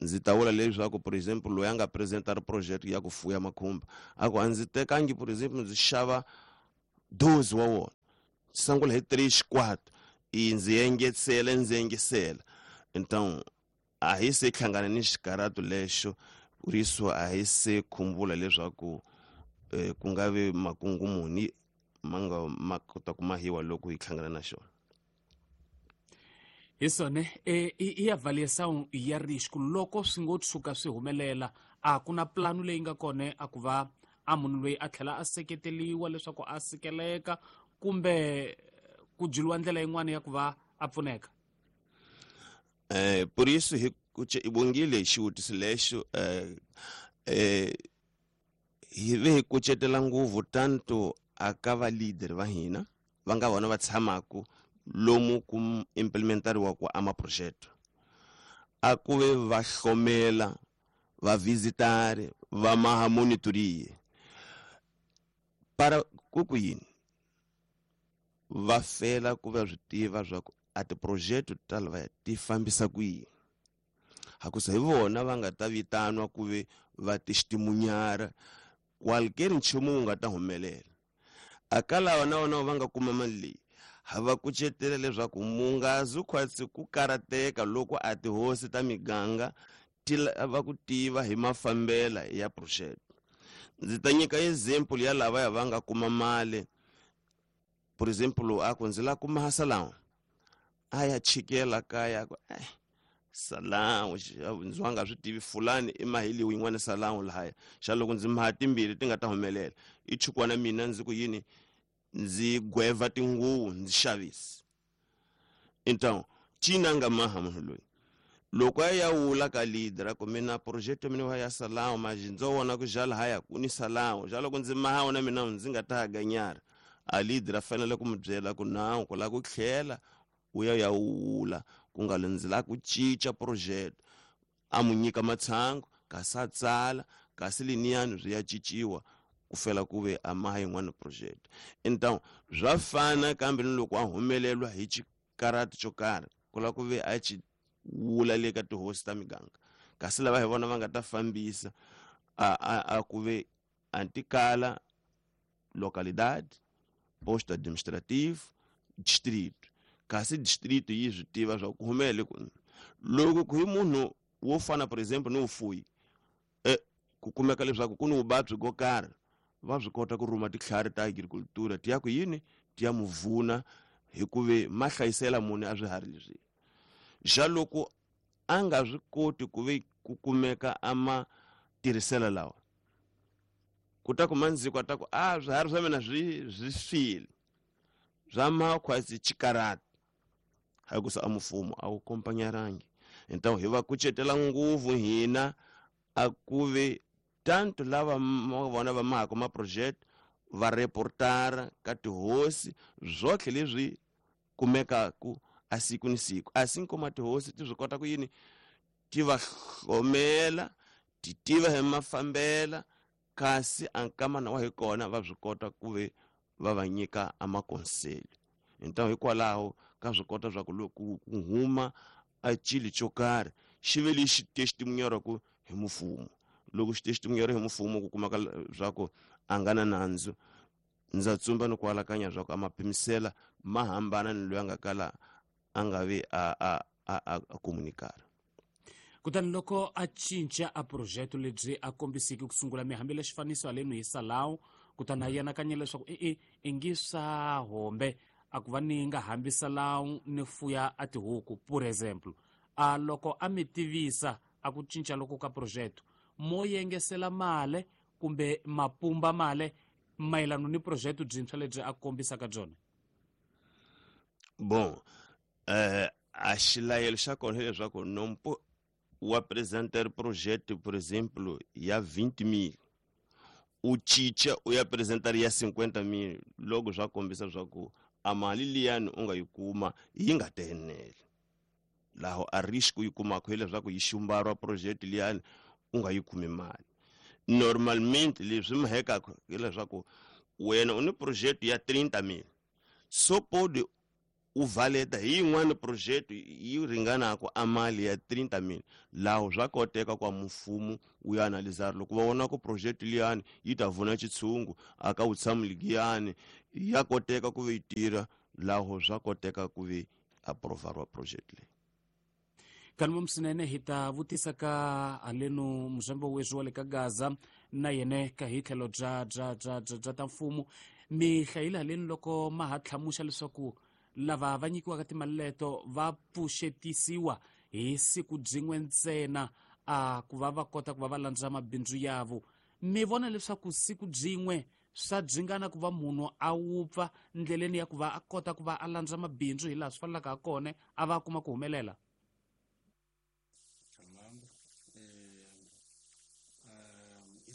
Ndzi ta vula leswaku por exemple loyi a nga apresentar project ya ku fuya makhumba a ku a ndzi tekangi por exemple ndzi xava doze wa wona sungula hi três quatro e ndzi engetela ndzi engetela. Então a hi se hlangana ni xikaratu lexo por isso a hi se khumbula leswaku eh, ku nga vi makungu muni ma nga ma kota ku mahiwa loko hi hlangana na xona. Hi swona e i avaliação ya risco loko swi ngo tshuka swi humelela a ku na plano leyi nga kona a ku va a munhu loyi a tlhela a seketeliwa leswaku a sikeleka kumbe ku byeliwa ndlela yin'wana ya ku va a pfuneka. Eh, por isso hi i bongile xivutiso lexo eh, eh, hi ve hi kucetela ngopfu tanto aka va leader va hina va nga vona va tshamaku lomu ku implementariwa ku ama projeto a ku ve va hlomela va visitare va maha monitorie para ku ku yini va fela ku va swi tiva swa ku a tiprojeto ta lava ti fambisa ku yini hakusa hi vona va nga ta vitanwa ku ve va testimunhar qualquer nchumu wu nga ta humelela. Aka lava na vona va nga kuma mali leyi ha va kucetela leswaku mungazi khwatsi ku karateka loko a tihosi ta miganga ti lava ku tiva hi mafambela ya project. Ndzi ta nyika example ya lava ya va nga kuma mali por exemplo a ku ndzi la kuma salão a ya chikela kaya ku eh salão ndzi wa nga swi tivi fulani i maheliwe yin'wana salão lahaya xa loko ndzi maha timbirhi ti nga ta humelela i chukwana mina ndzi ku yini ndzi gweva tinguvu ndzi xavisa. Então cina nga maha munhu loyi loko a ya wula ka leader ku mina project ya mina ya salão mas ndzo vona ku jala haya ku ni salão ja loko ndzi maha wona mina ndzi nga ta ganyara a leader a fanele ku mi byela ku nawu ku la ku tlhela u ya ya wula ku nga ndzi la ku cinca project a mu nyika matshango kasi a tsala kasi liniyani swi ya cinciwa ku fela ku ve a maha yin'wana project. Então swa fana kambe ni loko a humelelwa hi xikarati xo karhi ku la ku ve a ci wula le ka tihosi ta miganga kasi lava hi vona va nga ta fambisa a a, a ku ve antikala localidade posto administrativo distrito kasi distrito yi swi tiva swa ku humele ku loko ku hi munhu wo fana por exemple ni vufuyi eh ku kumeka leswaku ku ni vuvabyi byo karhi va swi kota ku rhuma titlhari ta agricultura ti ya ku yini ti ya muvuna hikuve ma hlayisela munhu a swiharhi leswi xa loko a nga swi koti ku ve ku kumeka a ma tirhisela lawa ku ta ku mandziko a ta ku a swiharhi swa mina swi swi file swa makhwasi xikarati hakusa a mfumo a wu kompanyarangi. Então hi va kucetela ngopfu hina a ku ve tanto lava vona va mahaka ma project va reportara ka tihosi zwotlhe leswi kumekaku a siku ni siku assim como a tihosi ti swi kota ku yini ti va hlomela ti tiva hi mafambela kasi a nkamana wa hi kona va swi kota ku ve va va nyika a makonseli. Então hikwalaho ka swi kota swa ku loko ku huma a xilo xo karhi xi ve lexi testimunharaku hi mfumo loko xi testimunhara hi mfumo ku kumeka swa ku a nga na nandzu ndza tsumba ni ku alakanya swa ku a mapimisela ma hambana ni loyi a nga kala a nga vi a a a a komunikara. Kutani loko a cinca a projeto lebyi a kombisiki ku sungula mi hambile xifaniso halenu hi salão kutani a yanakanya leswaku e-e i ngi swa hombe a ku va ni nga hambi salão ni fuya a tihuku por exemple a loko a mi tivisa a ku cinca loko ka projeto mo yengesela male kumbe mapumba male mayelano ni projeto byintshwa lebyi a kombisaka byona. Bon eh a xilayelo xa kona hileswaku nompo u apresentar projeto por exemplo ya vinte mil u cinca u ya apresentar ya cinquenta mil loko swa kombisa swa ku a mali liyani u nga yi kuma yi nga tenele laho a risco yi kumaka hileswaku yi xumbariwa project liyani u nga yi kumi mali. Normalmente leswi mahekaka hileswaku wena u ni project ya trinta mil so pode u valeta hi yin'wana project yi ringanaka a mali ya thirty mil laho swa koteka kwa mfumo wu ya analizar loko va vona ku project liyani yi ta vuna xitshungu aka wu tshamuligiyani ya koteka ku yi tirha laho swa koteka ku vi aprovariwa project leyi. Kanuma msinene hi ta vutisa ka aleno muzambo wezwo le ka Gaza na yene ka hi tlhelo bya bya bya bya ta mfumo mi hlayile haleni loko ma ha tlhamuxa leswaku lava va nyikiwaka timali leto va pfuxetisiwa hi siku byin'we ntsena a ku va va kota ku va va landza mabindzu yavo. Mi vona leswaku siku byin'we swa dzingana ku va munhu a wupfa ndleleni ya ku va a kota ku va a landza mabindzu hi laha swi fanelaka ha kona a va kuma ku humelela?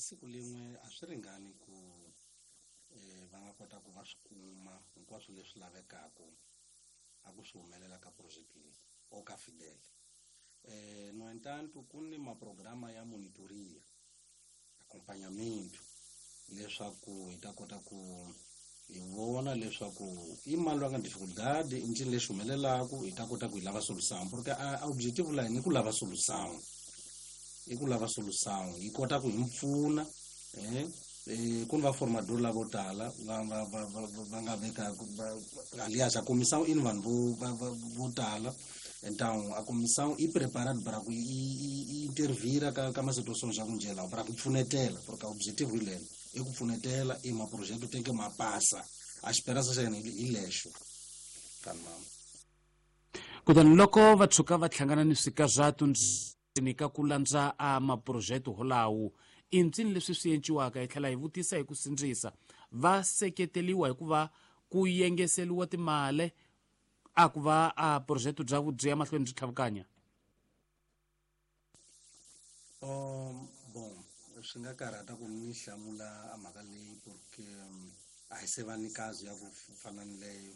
Siku lin'we a swi ringani ku va nga kota ku va swi kuma hinkwaswo leswi lavekaka a ku swi humelela ka project leyi o ka Fidel. Eh, no entanto ku ni maprograma ya monitoria, acompanhamento leswaku hi ta kota ku hi vona leswaku i mali wa nga dificuldade i ncini lexi humelelaka hi ta kota ku hi lava solução, porque a objetivo la hina i ku lava solução, i ku lava solução yi kota ku hi mpfuna eh eh ku ni va formador lavo tala va va va va nga veka aliás a comissão i ni vanhu vo vo tala, então a comissão i preparada para ku i intervira ka ka ma situações ya ku njhela para ku pfunetela, porque objetivo hi lelo i ku pfunetela i ma projeto tem que ma passa a esperança xa hina hi lexo kanmama. Kutani loko va tshuka va hlangana ni swikazatu ni ka ku landza a maprojeto holawo i ncini leswi swi enciwaka hi tlhela hi vutisa hi ku sindzisa va seketeliwa hikuva ku yengeseliwa timali a ku va a projeto bya byi ya mahlweni byi tlhavukanya? Um bon swi nga karhata ku ni hlamula a mhaka leyi porque a hi se va ni kazi ya ku fana ni leyo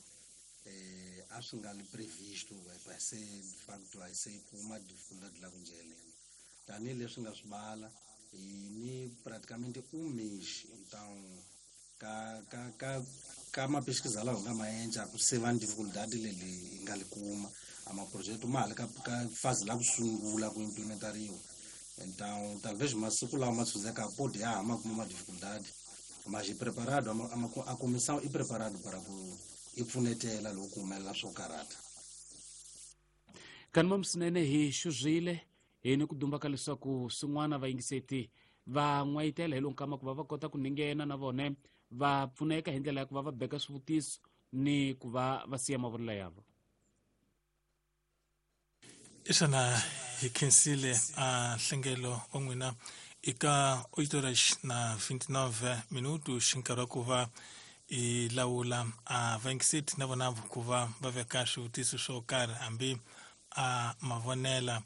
eh a swi nga li previsto va se de facto a se kuma dificuldade la ku njheleni tanihileswi nga swi bala hi ni praticamente um mês, então ka ka ka ka mapesquisa lawa hi nga ma endla ku se va ni dificuldade leli hi nga li kuma a maprojeto ma ha le ka ka fase la ku sungula ku implementariwa, então talvez masiku lawa ma tshundzekaka pode ya ha ma kuma ma dificuldade, mas hi preparado a comissão i preparado para ku i pfunetela loko ku humelela swo karhata. Kanuma msinene hi xuzile hi ni ku dumba ka leswaku swin'wana vayingiseti va n'wayitela hi lo nkama ku va va kota ku ninghena na vone va pfuneka hi ndlela ya ku va va beka swivutiso ni ku va va siya mavonelo yavo. Isana hi khensile a nhlengelo wa n'wina eka oito horas na vinte e nove minutos xi nkarhi wa ku va i lawula a vayingiseti na vona ku va va veka swivutiso swo karhi hambi a mavonela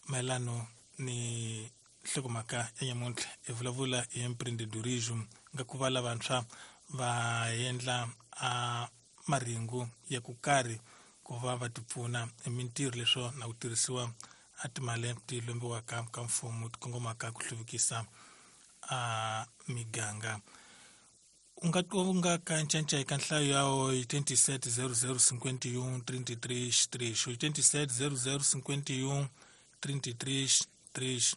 mayelano ni nhlokomhaka ya nyamuntlha hi vulavula hi empreendedorismo nga ku va lavantshwa va endla a maringu ya ku karhi ku va va tipfuna hi mintirho leswo na ku tirhisiwa a timali ti lombiwaka ka mfumo ti kongomaka ku hluvukisa a miganga. U nga u nga ka ncanca eka nhlayo ya oitenta e sete zero zero cinquenta e um trinta e três três oitenta e sete zero zero cinquenta e um trinta e três três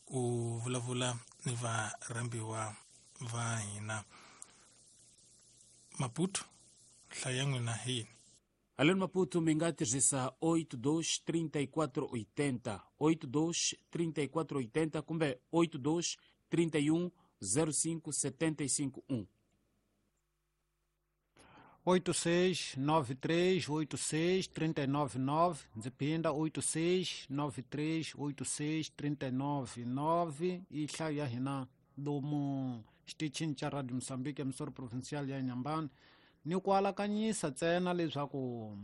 u vulavula ni varhambiwa va hina. Maputo nhlayo ya n'wina hi yini? Além Maputo mi nga tirhisa oito dois trinta e quatro oitenta oito dois trinta e quatro oitenta kumbe oito dois trinta e um zero cinco setenta e cinco um. oito seis nove três oito seis três nove nove, ndzi phinda oito seis nove três oito seis três nove nove i nhlayo ya hina lomu xitichini xa Radio Moçambique emisoro provincial ya Inhambane. Ni ku alakanyisa ntsena leswaku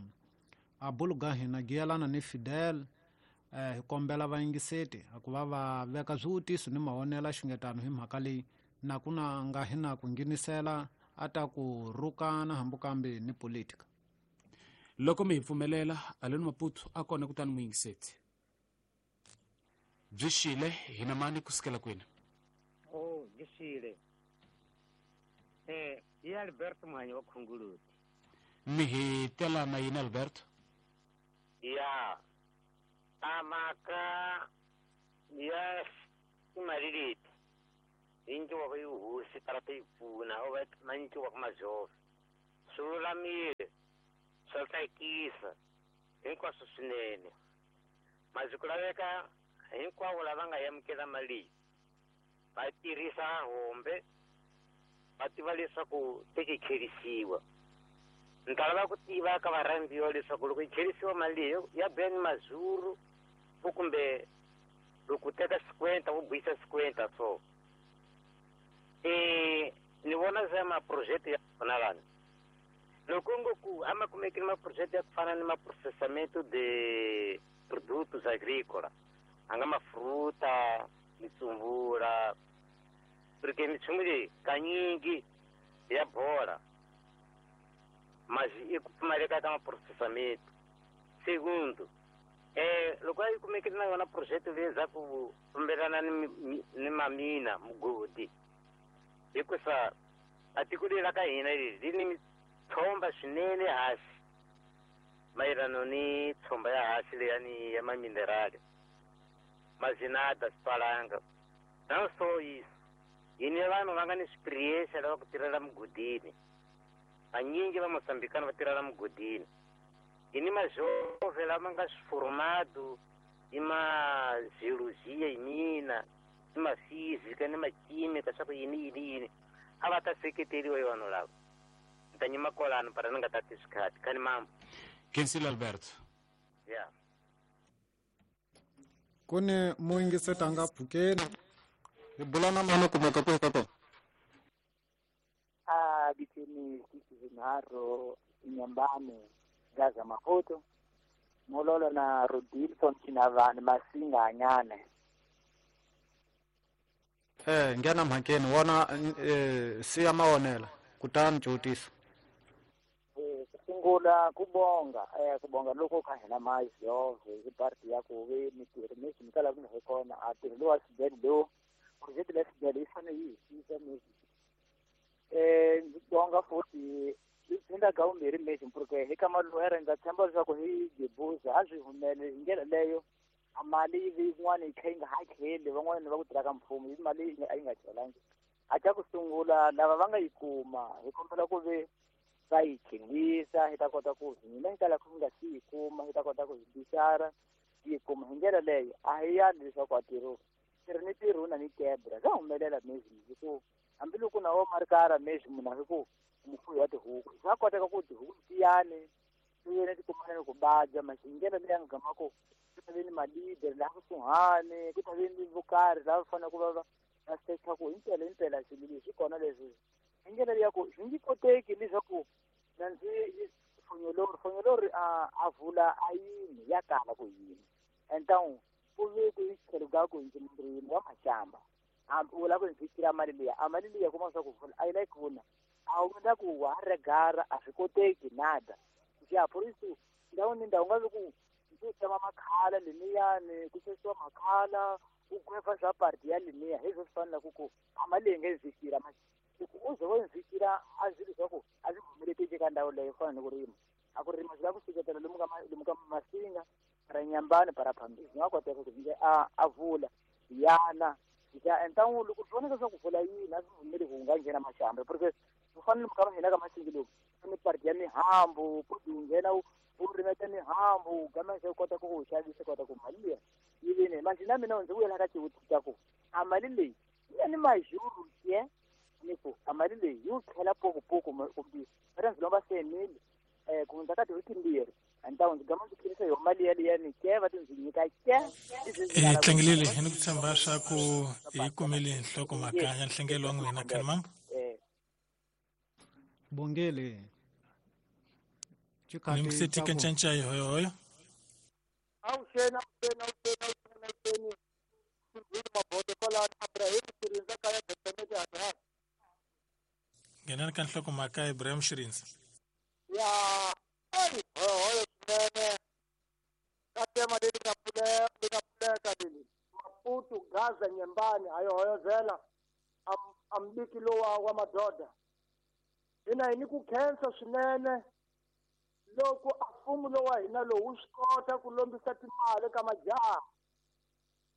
a buluga hina giyelana ni Fidel eh hi kombela vayingiseti ku va va veka swivutiso ni mavonelo xungetano hi mhaka leyi na ku na nga hina ku nghenisela a ta ku rhukana hambi kambe ni politika. Loko mi hi pfumelela aleni Maputo a kona kutani muyingiseti byi xile hina mani kusukela kwini? Oh, byi xile. Eh, i Alberto Mhanyi wa Khunguluti. Mi hi tela na yini Alberto? Ya amaka ya timali leti yi ndliwaka yi hosi tarata yi pfuna o va ma ndliwaka majove swi lulamile swa tsakisa hinkwaswo swinene masiku ku laveka hinkwavo lava nga amukela mali leyi va tirhisa hombe va tiva leswaku te ki kherisiwa. Ni ta lava ku tiva ka varhandziwa leswaku loko yi kherisiwa mali leyi ya Ben Mazuru kumbe loko u teka sikwenta u buyisa sikwenta so eh ni vona za maproject ya kona lana loko ngo ku a ma kumekile maproject ya ku fana ni maprocessamento de produtos agrícola a nga mafruta mitsumbula porque minchumu leyi kanyingi ya bola mas i ku pfumaleka ka maprocessamento. Segundo eh loko a yi kumekile na yona project leyi za ku fambelana ni ni mamina mugodi hikusa a tiko leri ra ka hina leri ri ni tshomba swinene hasi mayelano ni tshomba ya hasi leyani ya maminerali mazinada swi não só isso yi ni vanhu va nga ni experience lava ku tirhela mugodini vanyingi va Mozambikana va tirhela mugodini yi ni majove lama nga swi i ma geologia yi mina ni ma física ni ma química swa ku yini yini yini a va ta seketeriwa hi vanhu lava ni ta nyima kwalano para ni nga tati swikhati khani mambo. Kensile Alberto. Ya ku ni muyingiseti a nga pfukeni hi bula na mani kumeka kwihi ka kona? A bitini sisizinharo Nyambane Gaza Maputo Mololo na Rodilson Chinavani Masinganyane. Eh nghena mhakeni wona eh siya mawonela kutani cutisa. Eh sungula kubonga eh kubonga loko kha hina majove hi party ya ku ve mitirho messi mikala ku hi kona a tirho lowa xibedhlele lowu project leyi xibedhlele yi fanele yi hisisa messi eh ndzi bonga futhi swi endla ka vumbirhi messi porque hi ka maluhere ndza tshemba leswaku hi gebuza a swi humele hi ndlela leyo a mali yi vi yin'wana yi kha yi nga hakeli van'wana va ku tirha ka mfumo yi mali a yi nga tlhelangi a xa ku sungula lava va nga yi kuma hi kombela ku ve va yi khenisa hi ta kota ku hina hi kala ku nga si yi kuma hi ta kota ku hi bicara yi kuma hi ndlela leyo a hi yali leswaku a tirho tirhi ni tirho na ni kebra swa humelela messi hi ku hambiloko na wo marikara messi munhu a hi ku mufuyi wa tihuku swa koteka ku tihuku tiyani ti ti kumana ni ku badya masi hi ndlela leyi a nga gama ku ku ta ve ni malidere laha kusuhani ku ta ve ni vo karhi lava fanele ku va va va secha ku himpela himpela swilo leswi kona leswi hi ndlela leyi ya ku swi nge koteki leswaku na ndzi fonyolori fonyolori a a vula a yini ya kala ku yini entawu ku ve ku tlhelo ka ku ndzi murimi wa maxamba a u lava ku ndzi fikela mali liya a mali liya kuma swa ku vula a yi lavi ku vuna a wu na ku wa regara a swi koteki nada ya purisu ndhawu ni ndhawu nga vi ku ndzi tsema makhala lemiyani ku xavisiwa makhala u gwefa swa party ya lemiya hi swo swi fanela ku ku a mali leyi nge fikela loko u ze wo fikela a swi leswaku a swi humeleleki eka ndhawu leyo fana ni ku rima a ku rima swi lava ku seketela lomu ka lomu ka Masinga para Nyambane para Phambili swi nga koteka ku ndze a a vula yana ya entawu loko swi vonaka swa ku vula yini a swi humeli ku nga nghena maxamba porque ku fana ni mukama hina ka Masinga lomu ni party ya mihambu ku u nghena u rimeta mihambu gama se kota ku ku xavisa kota ku mali liya yi vini manje na mina ndzi vuyela ka xivutiso ku a mali leyi ya ni majuru ye ni ku a mali leyi yi tlhela pokupoku kumbe va ndzi lomba semili eh ku hundza ka tin'hweti timbirhi antawu ndzi gama ndzi tlherisa yo mali yaliyani ke va ti ndzi nyika ke eh tlangilele hi ni ku tshemba swa ku hi kumile nhlokomhaka ya nhlengelo wa n'wina khani mambo eh bongele ni mseti kancanca hoyo hoyo awuxeni awuxeni awuxeni awuxeni awuxeni mabodo kwalano Abraham Shirinza kaya Betsemete Abraham nghenani ka nhlokomhaka Ibrahim Shirinza ya ayi hoyo swinene ka tema leri nga pfuleka leri nga pfuleka leli Maputo Gaza Nyembani a yi hoyozela a mbiki lowa wa madoda hina hi ni ku khensa swinene Loko a mfumo lowu wa hina lowu wu swi kota ku lombisa timali ka majaha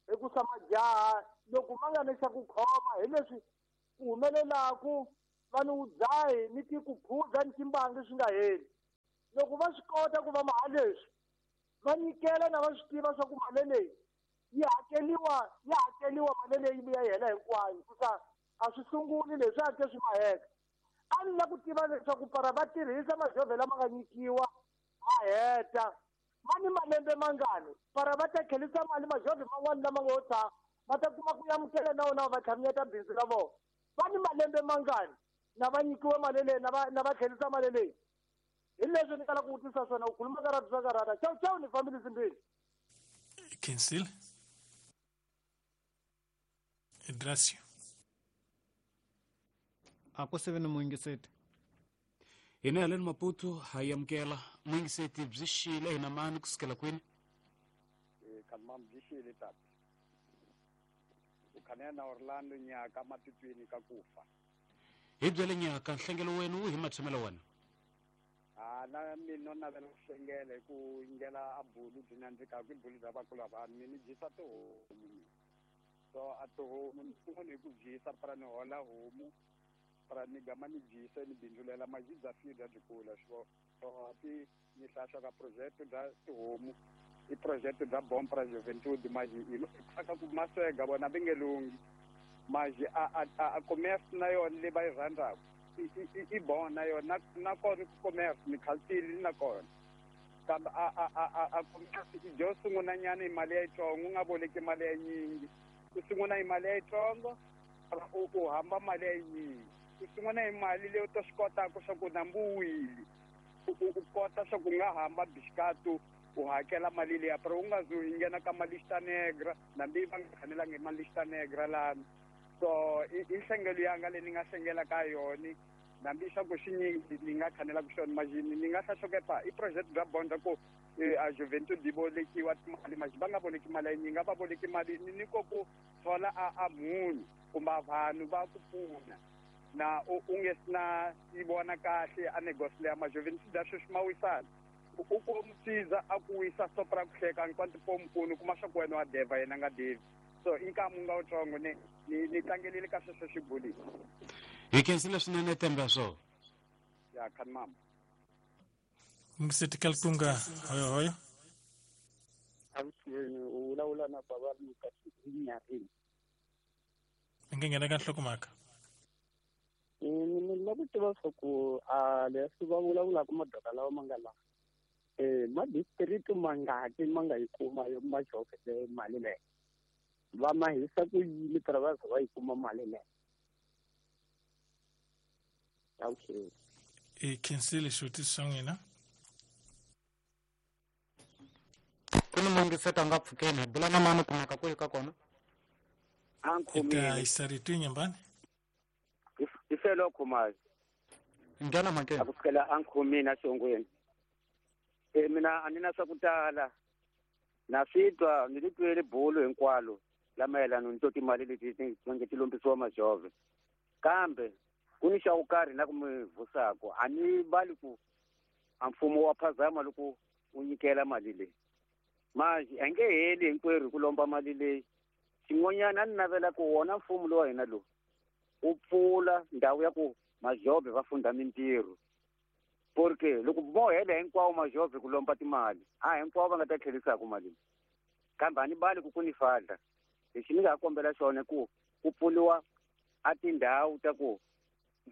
hikusa majaha loko ma nga ni xa ku khoma hi leswi ku humelelaku vanhu wudzahi ni ti ku phuza ni timbangi swi nga heli. Loko va swi kota ku va maha leswi va nyikela na va swi tiva swa ku mali leyi yi hakeliwa yi hakeliwa mali leyi vuya yi hela hinkwayo hikusa a swi sunguli leswi a ke swi maheka. A ni la ku tiva leswaku para va tirhisa majovhe lama nga nyikiwa ma heta ma ni malembe mangani para va ta tlherisa mali majovhe man'wani lama ngo tshama va ta kuma ku amukela na wona va tlhamiyeta bindzu ra vona va ni malembe mangani na va nyikiwe mali leyi na va na va tlherisa mali leyi. Hi leswi ni kala ku vutisa swona u khuluma ka ratu swa karata chau chau ni fambile zimbili. Cancel. Idrasio. A ku sive ni muyingiseti. Hina haleni Maputo ha yi amukela muyingiseti byi xile hina mani kusukela kwini? Khamam byi xile tata. U khanela na Orlando nyaka matitweni ka kufa. Hi byele nyaka nhlengelo wenu wu hi matshamelo wena. A na mina navela ku hlengela hi ku yingela a bulu byi nandzikaka i bulu bya vakulu va vanhu ni dyisa tihomu. So a tihomu ni sungula hi ku dyisa para ni hola homu para ni gama ni dyisa ni bindzulela maji bya fida byi kula swo so ti ni hlahla ka project bya tihomu i project bya bon pra juventude maji i ka ku maswega vona va nge lunghi maji a a a commerce na yona leyi va yi rhandzaka i bon na yona na kona ku commerce ni khaltili na kona kambe a a a a commerce i dyo sungula nyana hi mali ya yitsongo u nga boleki mali ya nyingi u sungula hi mali ya yitsongo u u hamba mali ya nyingi u sungula hi mali leyi u ta swi kotaka swa ku nambu wile u kota swa ku nga hamba bixikatu u hakela mali leya pero u nga zi u nghena ka malista negra nambi va nga khanelanga hi malista negra lani. So i nhlengelo yanga leyi ni nga hlengela ka yona nambi swa ku swinyingi ni nga khanelaka swona majini ni nga hlahlokepa i project bya bondza ku a juventude yi bolekiwa timali maji va nga boleki mali ya nyingi a va boleki mali ni ko ku thola a a munhu kumbe vanhu va ku pfuna na u nge sina yi vona kahle a negosi leya majuventude ya sweswi ma wisana u ku musiza a ku wisa stop ra ku hleka hinkwato po mpfuno kuma swa ku wena wa deva yena nga devi. So i nkamu nga wutsongo ni ni ni tlangelile ka sweswo xibulini. Hi khensile swinene temba swo. Ya khani mama. Muyingiseti Kalkunga hoyo hoyo. Avuxeni u vulavula na bava Lucas Nyarini. Mi nga nghena ka nhlokomhaka. Ni lava ku tiva swa ku a leswi va vulavulaka madoka lawa ma nga laha eh ma district mangaki ma nga yi kuma majove le mali leyi va ma hisa ku yini para va za va yi kuma mali leyi. Avuxeni. I khensile xivutiso xa n'wina. Ku ni muyingiseti a nga pfukeni hi bula na mani kumeka kwihi ka kona? I ta yisa rito Nyambani. I felo Khumalo. Nghena mhakeni. A ku sukela a nkhomini exihongweni. E mina a ni na swa ku tala na swi twa ni ri twele bulu hinkwalo la mayelana ni to timali leti ti nge ti lombisiwa majove kambe ku ni xa ku karhi na ku mi vusako a ni vali ku a mfumo wa phazama loko u nyikela mali leyi manje a nge heli hinkwerhu ku lomba mali leyi. Xin'wanyana a ni navela ku wona mfumo lowa hina lowu u pfula ndhawu ya ku majove va funda mintirho porque loko mo hela hinkwawo majove ku lomba timali a hinkwavo va nga ta tlherisaka mali kambe a ni bali ku ku ni fadla lexi ni nga ha kombela xona ku ku pfuriwa a tindhawu ta ku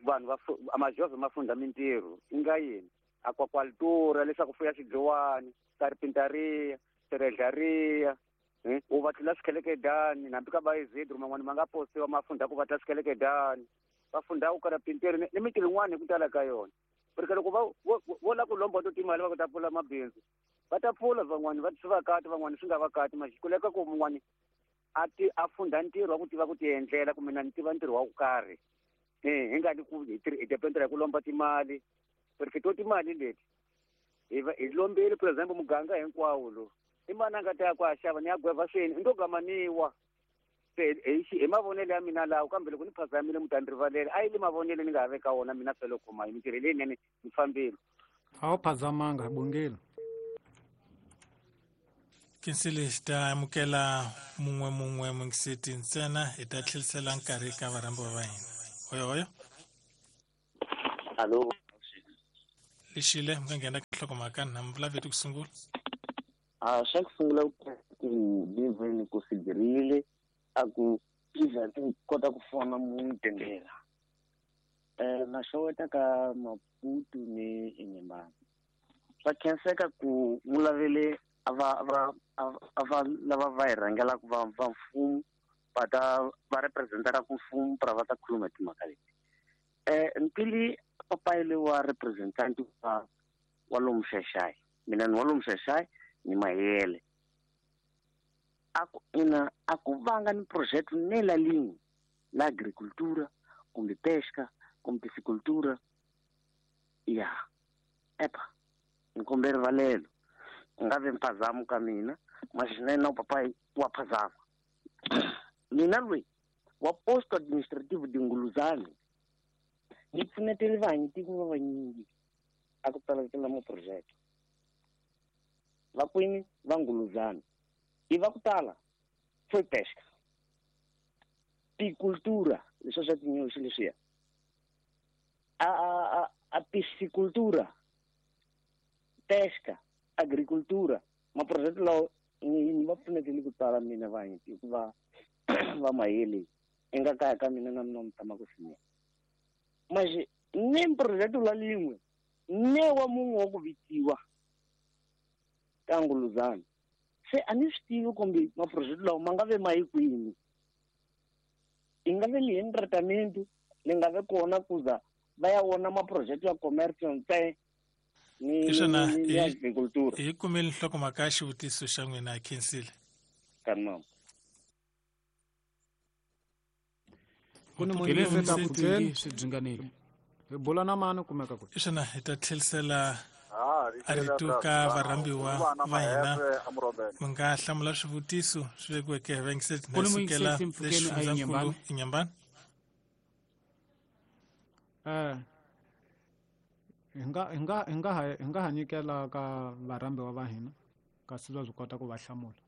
vanhu va majove ma funda mintirho i nga yini aquacultura leswaku fuya swidliwani carpintaria seredlaria u va tlula swikhelekedani hambi ka vaizidro man'wani ma nga postiwa ma funda ku va tla swikhelekedani va funda ku karapinteri ni mintirho yin'wana hi ku tala ka yona porque loko va vo lava ku lomba to timali va ku ta pfula mabindzu va ta pfula van'wani va swi va kati van'wani swi nga va kati maxi kuleka ku mun'wani a ti a funda ntirho wa ku tiva ku ti endlela kumbe na ni tiva ntirho wa ku karhi eh hi nga ni ku hi hi dependera ku lomba timali porque to timali leti hi va hi lombile for example muganga hinkwawo lo i mani a nga ta ya ku a xava ni ya gweva swini i ndo gamaniwa se hi mavonelo ya mina lawo kambe loko ni phazamile mi ta ni rivalela a yi le mavonelo ni nga ha veka wona mina felo khoma hi mintirho leyinene ni fambile. A wu phazamanga hi bongile. Kinsile xi ta amukela mun'we mun'we mungiseti ntsena hi ta tlherisela nkarhi ka varhambiwa va hina. Hoyo hoyo. Alo. Lexile mi nga nghena ka nhlokomhaka na mi vulaveti ku sungula. A xa ku sungula ku ni ku sigirile a ku iza ti kota ku fona munhu tendela. Eh na xeweta ka Maputo ni Inhambane. Swa khenseka ku mulavele ava ava ava lava va hi rhangelaka va va mfumo va ta va representaka ku mfumo pra va ta khuluma timhaka leti. Eh ntili papayile wa representant wa wa lomu Xaxai. Mina ni wa lomu Xaxai ni Mayele. Aku ina aku vanga ni project nela linye la agricultura kumbe pesca kumbe piscicultura ya epa nkombe rivalelo nga ve mphazamo ka mina maxinene papai wa phazama mina lwe wa posto administrativo de Nguluzane ni pfunetele vanhu tiko va vanyingi a ku tsalatela mo project va kwini va Nguluzane i va ku tala foi pesca piscicultura leswi swa tinyoxi leswiya a a a piscicultura pesca agricultura maproject lawo ni va pfunetele ku tala mina vanhu hikuva va Mayele i nga kaya ka mina na mina mi tshama ku swinene manje ne project la lin'we ne wa mun'we wa ku vitiwa ka Nguluzane se a ni swi tivi kumbe maproject lawa ma nga ve ma yi kwini i nga ve li tratamento li nga ve kona kuza va ya wona maproject ya commercial ntsena ni ni agricultura. Hi kumele nhlokomhaka ya xivutiso xa n'wina Khensile. Kanam. Ku ni munhu pfukeni swi byi hi bula na mani kumeka ku. Xana hi ta tlherisela a rito ka varhambiwa va hina mi nga hlamula swivutiso swi vekiweke hi vayingiseri na sukela lexifundzankulu Inhambane. Eh hi nga hi nga hi nga hi nga ha nyikela ka varhambiwa va hina kasi va swi kota ku va hlamula.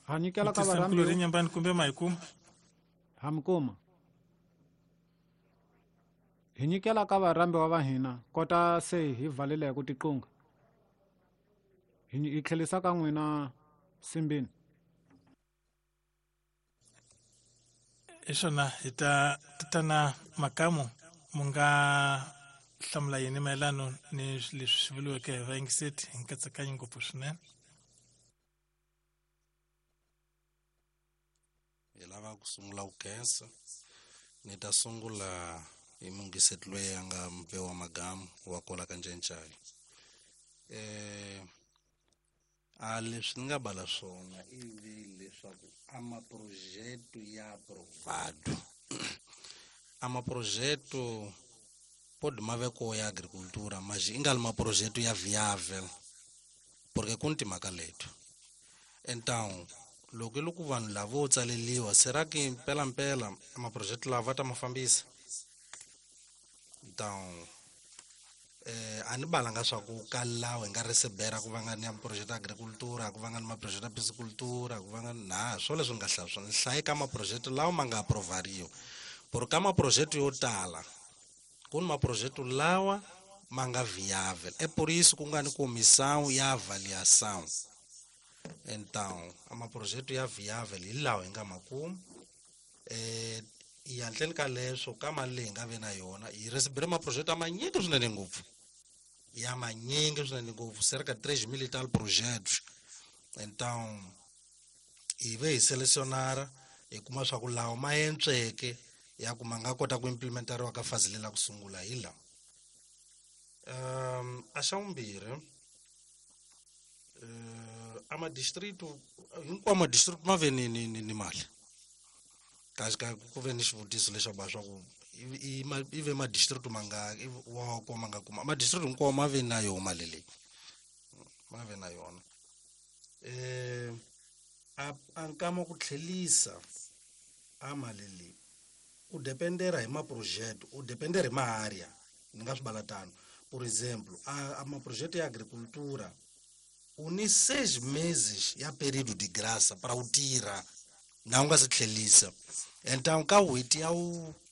Ha nyikela ka varhambiwa Inhambane kumbe ma hi kuma ha mi kuma hi nyikela ka varhambiwa va hina kota se hi valele hi ku tiqunga hi tlhelisa ka n'wina Simbini. Xona hi ta tatana Makamu mu nga hlamula yini mayelano ni leswi swi vuriweke hi vayingiseti hi nkatsakanyo ngopfu swinene. Hi lava ku sungula ku khensa ni ta sungula hi mungiseti loyi a nga mpe wa Magamu wa kwala ka Ncencai. Eh a leswi ni nga bala swona ivi leswaku a maprojeto ya aprovado a maprojeto pode maveko ya agricultura mas i nga li maprojeto ya viável porque ku ni timhaka leto. Então loko loko vanhu lavo tsaleliwa será que mpela mpela maprojeto lava va ta ma fambisa? Então eh a ni balanga swa ku ka lawa hi nga recebera ku va nga ni ya project ya agricultura ku va nga ni maproject ya piscicultura ku va nga na swo leswi nga hlaya swona hlaye ka maproject lawa ma nga aprovariwa por ka maproject yo tala ku ni maproject lawa ma nga viável é por isso ku nga ni comissão ya avaliação. Então a maproject ya viável hi lawa hi nga ma kuma eh hi handleni ka leswo ka mali leyi hi nga ve na yona hi recebere maproject ya manyingi swinene ngopfu ya manyingi swinene ngopfu cerca três mil e tal projetos. Então hi ve hi selecionara hi kuma swa ku lawa ma entsweke ya ku ma nga kota ku implementariwa ka fazi lela ku sungula hi lawa. Um a xa vumbirhi uh, a madistrito hinkwawo madistrito ma ve ni ni ni mali kasi ka ku ve ni xivutiso lexaku ba swa ku i i ve madistrito ma nga wa ko ma nga kuma madistrito hinkwawo ma ve na yona mali leyi ma ve na yona. Eh a a nkama ku tlhelisa a mali leyi U dependera hi maprojeto, u dependera hi maarea, ni nga swi vala tano. Por exemplo, a, a maprojeto ya agricultura u ni seis meses ya período de graça para u tirha na u nga se tlhelisa. Então ka n'hweti ya wu